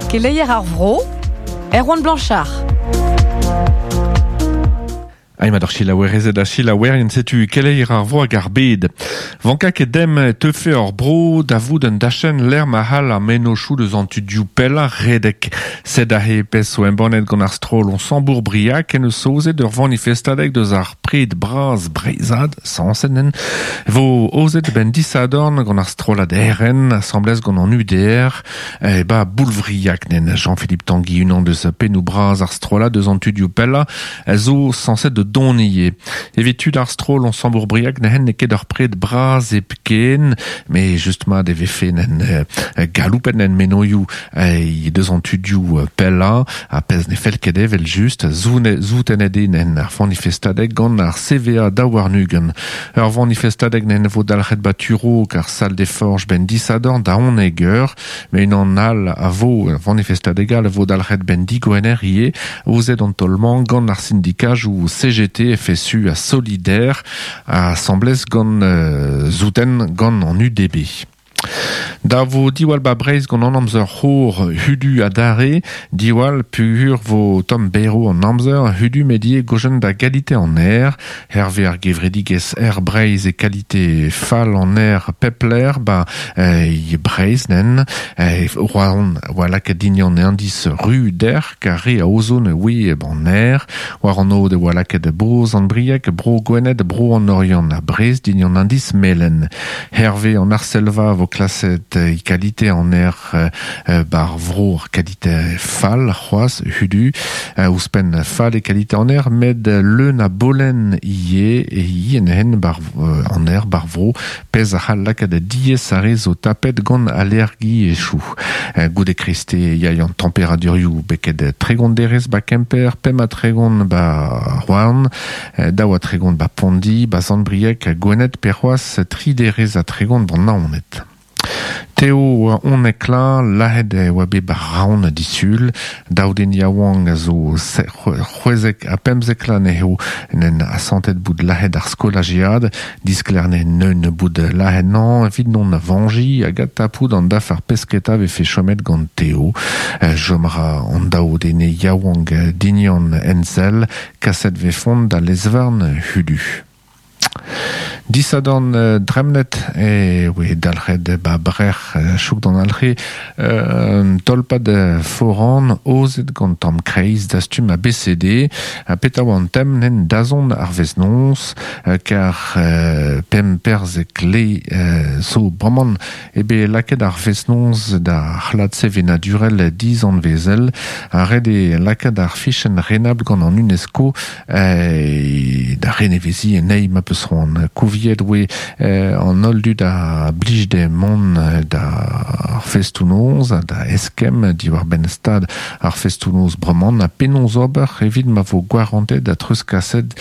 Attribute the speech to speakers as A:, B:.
A: Keleier ar vro, Erwan Blanchard.
B: Aima d'ar selaouerezed ha selaouerien, setu keleier ar vro hag ar bed. Vanka ket dem e teufe hor bro da vout un dachenn lec'h ma c'hall ar mennozhioù deus an tudioù pellañ redek. Sed aze pezh zo embannet gant ar stroll Onsambour-Briac en eus saozet ur vanifestadeg deus ar pred bras breizhad, sañset vo aozet benn disadorn gant ar strollad RN asambles gant an UDR e ba Boulvriag nen Jean-Philippe Tanguy unan deus pennoù bras ar strollad deus an tudioù pellañ a zo sañset da dont ivez. Evit tud ar stroll Onsambour-Briag n'hen n'eo ket ur pred bras hepken, met just mat e vefe nen galoupet en menoioù deus an tudioù pellañ ha pezh ne fell ket evel just zoutenet eo nen ar vanifestadeg gant ar CVA daou-warn-ugent. Ur vanifestadeg nen vo dalc'het ba Turok ar Salle des Forges ben disadorn da 11 eur, met unan all a vo, ur vanifestadeg all a vo dalc'het ben digwener ivez, aozet an taol-mañ gant ar sindikajoù CGT, FSU ha Solidaire, asambles gant souten gant an UDB. Da vo diwall ba Breizh gant an amzer c'hor hudu adarre, diwall pugur vo tomm berv an amzer hudu met ivez gojenn da galite an aer. Hervez ar gevredigezh Air Breizh e kalite fall an aer pep lec'h ba e Breizh nen. Roazhon oa lakaet din an indiz ru dec'h kar re a ozon oe an aer. War an aod e oa lakaet Bro Sant-Brieg, Bro Gwened, Bro an Oriant ha Brest din an indiz melen. Hervez an arsellva vo klaset e kalite an aer bar vro kalite fall c'hoazh hudu ouzhpenn fall e kalite an aer met leun a bolen ivez e yen hen bar an aer bar vro pezh a c'hall lakaat diaes ar re zo tapet gant allergiezhioù. Goude kreste yay an temperadurioù beket 30 derez ba Kemper, 35 ba Roazhon, 32 ba Pondi, ba Sant-Brieg, Gwened pe c'hoazh 3 derez ha 30 ban Naoned. Teo oa 11 lazhet e oa bet 'ba Raon disul. Daou den yaouank a zo 76 anezho en asantet bout lazhet ar skolajiad. Disklerne neun bout lazhet nañ evit non vañjiñ hag adtapout an dafar pesketa vefe chomet gant Teo. Chom a ra an daou den yaouank dignan ensell. Kaset vefont da lez-varn hudu. Disadorn dremnet e oe dalc'het ba Brec'h chouk d'an Alre un tolpad foran aozet gant tamm kreiz dastum ABCD ha petra oa an tem nen dazont ar wezh-noz kar pemp perzek le zo bremañ eo bet lakaet ar fest-noz da c'hlad sevenadurel dizanvezel ha ret eo lakaat ar fichenn renabl gant an UNESCO da reneveziñ anezhi ma peus c'hoant. Kouviet oe an holl dud a blij dezhe mont d'ar festoù-noz ha da eskemm diwar-benn stad ar festoù-noz bremañ na penaos ober evit ma vo gwarantet ha treuzkaset.